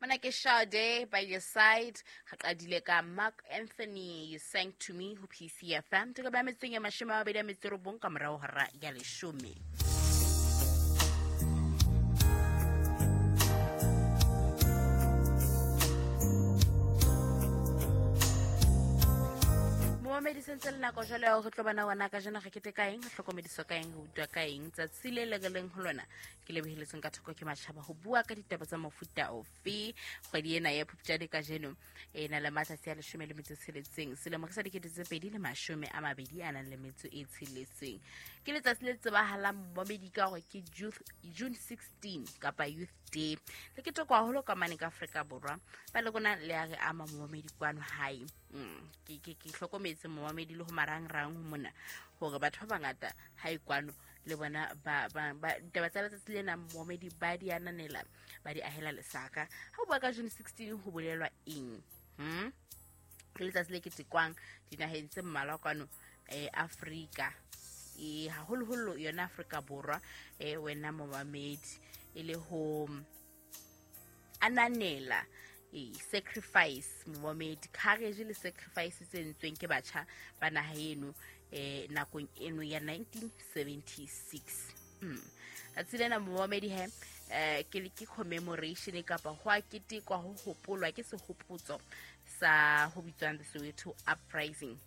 Mona ke Sade by your side. Re qadile ka Mark Anthony, You Sang to Me ho PCFM. Toko ba metseng ya 29 ka morao hora ya 10. Momedi sentse le nako jwale ya hore tlo bona ngwana ka jena re keteka eng, re hlokomediswa ka eng, re utlwa ka eng. Tsatsi le le leng ho lona ke leboheletseng ka thoko ke matjhaba ho bua ka ditaba tsa mofuta ofe. Kgwedi ena ya Phupjane kajeno e na le matsatsi a 16, selemo ke sa 2026. Ke letsatsi le tsebahalang momedi ka hore ke June 16 kapa Youth Day. Le ketekwa haholo ka mane ka Afrika Borwa. Ba le rona le a re ama momedi kwano hae. Ke hlokometse momedi le ho marangrang ho mona hore batho ba bangata ha e kwano le bona ba ditaba tsa letsatsi lena momedi ba di ananela, ba di ahela lesaka. Ha o bua ka June 16 ho bolelwa eng? Ke letsatsi le ketekwang dinaheng tse mmalwa kwano Afrika, haholoholo yona Afrika Borwa, wena momamedi, e le ho ananela sacrifice momamedi, courage le sacrifice tse entsweng ke batjha ba naha eno nakong eno ya 1976. Tsatsi lena momamedi he ke commemoration kapa ho a ketekwa, ho hopolwa, ke sehopotso sa ho bitswang the Soweto Uprising.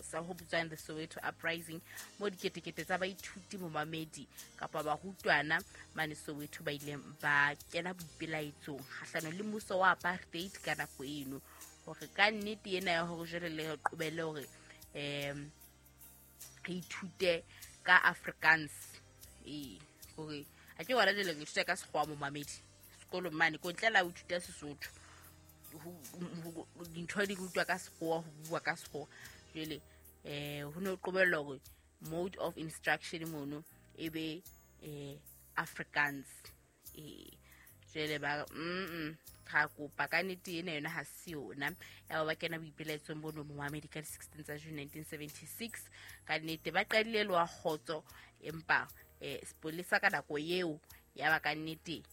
Sa ho bitswang the Soweto Uprising, mo diketekete tsa baithuti momamedi kapa barutwana mane Soweto ba ileng ba kena boipelaetsong kgahlanong le mmuso wa apartheid ka nako eno. Hore ka nnete ena ya hore jwale le qobelle hore re ithute ka Afrikaans, hore a ke wena jwale re ithuta ka sekgowa momamedi sekolong mane ko ntle la ho ithuta Sesotho, dintho di rutwa ka sekgowa, ho bua ka sekgowa. Jwale ho ne ho qobellwa hore mode of instruction mono e be Afrikaans. Jwale ba ra kopa ka nnete ena yona ha se yona. Ya ba kena boipelaetsong bono momamedi ka di-16 tsa June 1976. Ka nnete ba qadile le wa kgotso, empa sepolesa ka nako eo ya ba ka nnete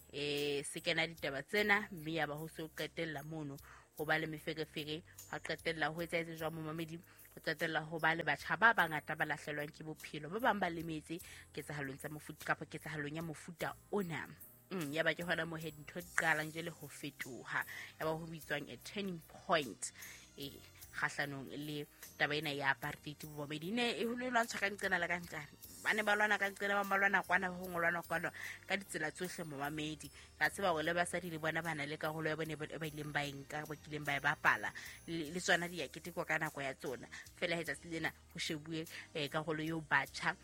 se kena ditaba tsena, mme ya ba ho se ho qetella mono ho ba le meferefere, hwa qetella ho etsahetse jwang momamedi, ho qetella ho ba le batjha ba bangata ba lahlelwang ke bophelo, ba bang ba lemetse ketsahalong tsa mofuta kapa ketsahalong ya mofuta ona. Ya ba ke hona moo he dintho di qalang jwale ho fetoha, ya ba ho bitswang a turning point kgahlanong le taba ena ya apartheid bomamedi. Ne e ho lwantshwa ka nqena le ka nqane, ba ne ba lwana ka nqena, ba lwana kwana, ho ngolwana kwana ka ditsela tsohle momamedi. Ka tseba hore le basadi le bona ba na le karolo ya bone ba ileng ba e nka, ba kileng ba e bapala, le tsona di ya ketekwa ka nako ya tsona. Fela he tsatsi lena ho shebuwe karolo eo batjha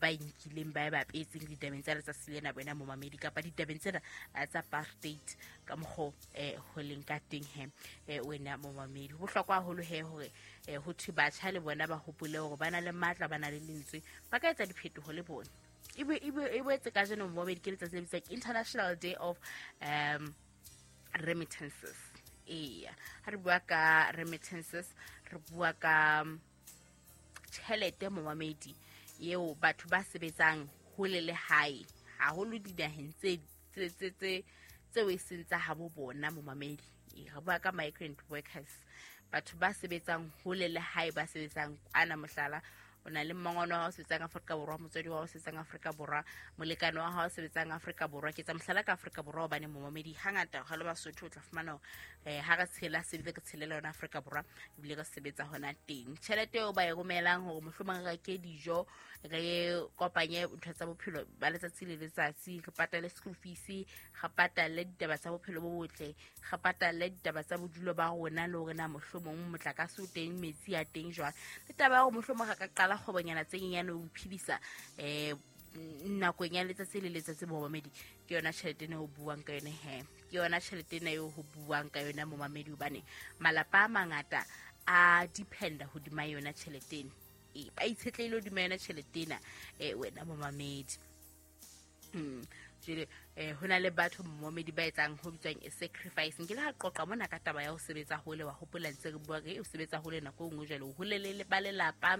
ba e nkileng, ba e bapetseng ditabeng tsa letsatsi lena wena momamedi, kapa ditabeng tsena tsa apartheid ka mokgo ho leng ka teng he wena momamedi. Ho bohlokwa haholo he hore ho thwe batjha le bona ba hopole hore ba na le matla, ba na le lentswe, ba ka etsa diphetoho le bona. E boetse kajeno momamedi ke letsatsi le bitswang International Day of Remittances. Eya, ha re bua ka remittances, re bua ka tjhelete momamedi eo batho ba sebetsang hole le hae, haholo dinaheng tse tseo e seng tsa habo bona momamedi. Re bua ka migrant workers, batho ba sebetsang hole le hae, ba sebetsang kwana. Mohlala, o na le mmangwane wa hao sebetsang Afrika Borwa, motswadi wa hao sebetsang Afrika Borwa, molekane wa hao sebetsang Afrika Borwa. Ke tsa mohlala ka Afrika Borwa hobane momamedi hangata ha le Basotho o tla fumana ha re tshela sebile re tshelela yona Afrika Borwa, ebile re sebetsa hona teng. Tjhelete eo ba e romelang hore mohlomong re reke dijo, re kopanye ntho tsa bophelo ba letsatsi le letsatsi, re patale school fees, re patale ditaba tsa bophelo bo botle, re patale ditaba tsa bodulo ba rona, le hore na mohlomong motlakase o teng, metsi a teng jwang, le taba ya hore mohlomong re ka qala kgwebonyana tse nyenyane ho iphedisa nakong ya letsatsi le letsatsi momamedi. Ke yona tjhelete ena ho buang ka yona he, ke yona tjhelete ena eo ho buang ka yona momamedi, hobane malapa a mangata a dependa hodima yona tjhelete ena, ba itshetlehile hodima yona tjhelete ena wena momamedi. Jwale ho na le batho momamedi ba etsang ho bitswang a sacrifice. Nkile ha qoqa mona ka taba ya ho sebetsa hole, wa hopola ntse re bua re o sebetsa hole nako e nngwe, jwale o hole le ba lelapa,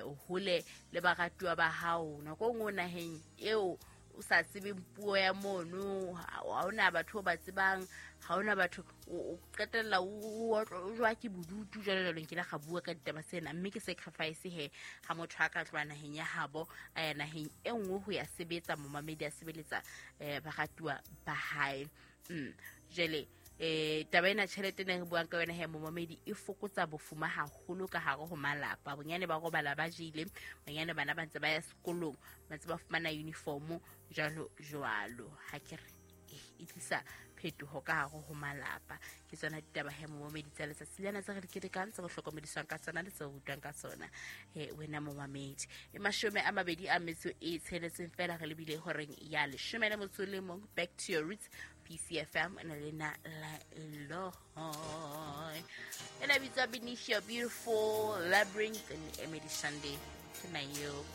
o hole le baratuwa ba hao, nako e nngwe naheng eo o o sa tsebeng puo ya mono, ha hona batho ba tsebang, ha hona batho, o qetella o jwa ke bodutu jwalo jwalo. Nkile ga bua ka ditaba tsena, mme ke sacrifice he ha motho a ka tloha naheng ya habo a ya naheng e nngwe ho ya sebetsa, momamedi a sebeletsa baratuwa ba hae. Jwale taba ena tjhelete ne re buang ka yona he momamedi e fokotsa bofuma haholo ka hare ho malapa. Bonyane ba robala ba jele, bonyane bana ba ntse ba ya sekolong, ba ntse ba fumana uniform jwalo jwalo. Ha ke re e tlisa phetoho ka hare ho malapa. Ke tsona ditaba he momamedi tsa letsatsi lena tse re di ketekang, tse re hlokomediswang ka tsona le tse re rutwang ka tsona he wena momamedi. E 26 fela re lebile horeng ya 11. Back to your roots, PCFM na le na la Eloy. Ena bitswa Benicia Beautiful Labyrinth and Emily Sunday. Ke na eo.